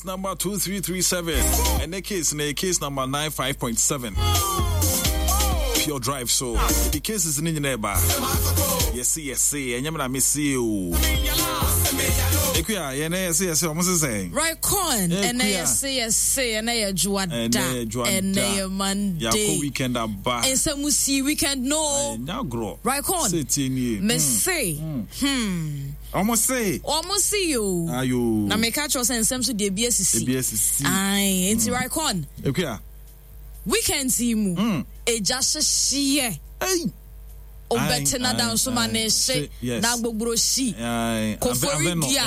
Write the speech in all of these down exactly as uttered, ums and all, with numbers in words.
Case number two three three seven. And the case na case number nine five point seven. Pure drive so. The case is in the ba. Yes, yes, and I'm na see you. Ekuya, yɛn yɛse yɛse ɔmo sisɛn. Right con, ɛnɛ yɛse yɛse ɛnɛ yɛ dwoada, ɛnɛ yɛ Monday. Yɛakɔ weekend aba. Nsɛm si weekend no. Ɛnyɛ agorɔ. Right con. Sɛ tie nie. Me se. Hmm. Ɔmo se. Ɔmo se yo. Ayo. Na meka kyerɛ sɛ nsɛm so deɛ ebi asisi. Ebi asisi. Ayi, nti right con. Ekuya. Weekend yi mu. Egya hyehyeɛ. Hey. Obɛtena dansoma ne hye na gbogboro hyi kofori dua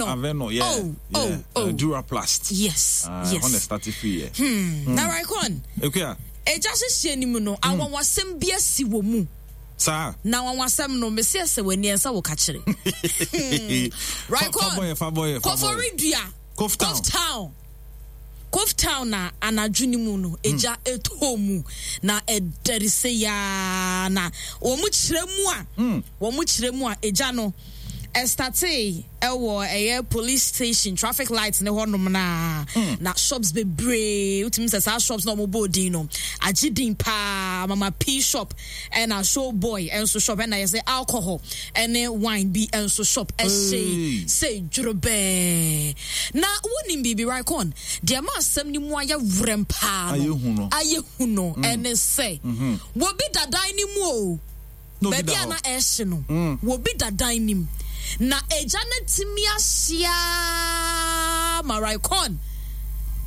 aveno. Oh, oh, oh. Duraplast. Yes, yes. On the starting free. Hmm. Na Raikon. Okay. Eja hyehyɛ ni mu no, awanwasɛm bi asi wɔ mu. Saa. Na awanwasɛm no, mesi ɛsɛ w'ani ɛnsa wɔ kakyere. Raikon. Kofori dua. Koftown. Koftown. Koftown na anadwo ni mu no egya eto mu na ɛdɛre sɛ yaa na wɔn kyerɛ mu a wɔn kyerɛ mu a egya no ɛstartee ɛwɔ ɛyɛ police station traffic light ne hɔnom na na shops bebree wotumi sɛ saa shops na wɔn bɔ odin no agye din paa Mama P shop ɛna show boy ɛnso shop ɛna yɛsɛ alcohol ɛne wine bi ɛnso shop ɛhyɛ sɛ dworobɛɛ na wonim biribi right con deɛ ma asɛm ni mu ayɛ werɛm paa no ayɛ hu no ɛne sɛ wobi dadan ne mu o baabi a na ɛhye no wobi dadan ne mu na egya no tumi ahyia ma right con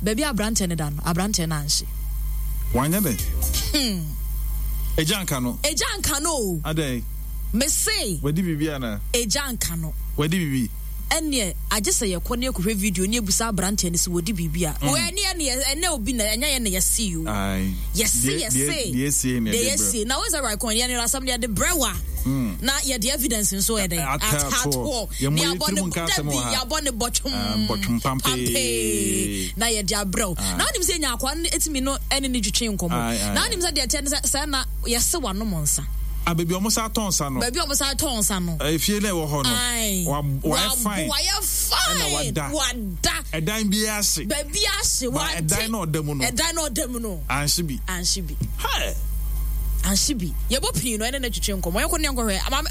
baabi aberantɛ ne da no aberantɛ no anhye wanyɛ dɛ egya nka no egya nka no o adɛn mese wadi biribi ana egya nka no wadi biribi ɛneɛ agye sɛ yɛkɔ ne yɛkɔhwɛ video ne yɛbusa aberanteɛ no sɛ wɔdi biribi a ɛne ɛne ɛnɛ obi na ɛnyɛ yɛ na yɛse yo yɛse yɛse deɛ yɛsie na wɔsɛ right coin yɛne asɛm deɛ de brɛ wa na yɛde evidence nso yɛ dɛ atatoɔ ne yɛabɔ ne dabi yɛabɔ ne bɔtwom pampee na yɛde abrɛ wo na wonim sɛ nya akoa no ɛtumi no ɛne ne twitwe nkɔmmɔ na wonim sɛ deɛ ɛteɛ ne sɛ sɛ na yɛse wanom nsa. Ah, baby, almost out on sano. Baby, almost out on sano. If you never hold on, why fine? Why fine? Wada. Wada. A dime be ashy. Baby, ashy. A dime or demono. A dime or demono. And she be. And she be. Hi. And she be. You bo pin no, and then you change. Come on, you couldn't go here. I'm.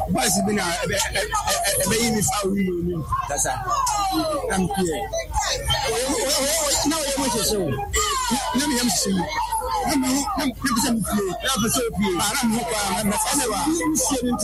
Boys bi na ɛbɛyi mi fa wi mu mu kasa na mi pie na ɔyɛ mo hyehyɛ o na mi yam hyehyɛ mi na mi ho na mi pɛ sɛ mi pie na pɛ sɛ o pie na mi ho kɔ a na mi sɛ wa.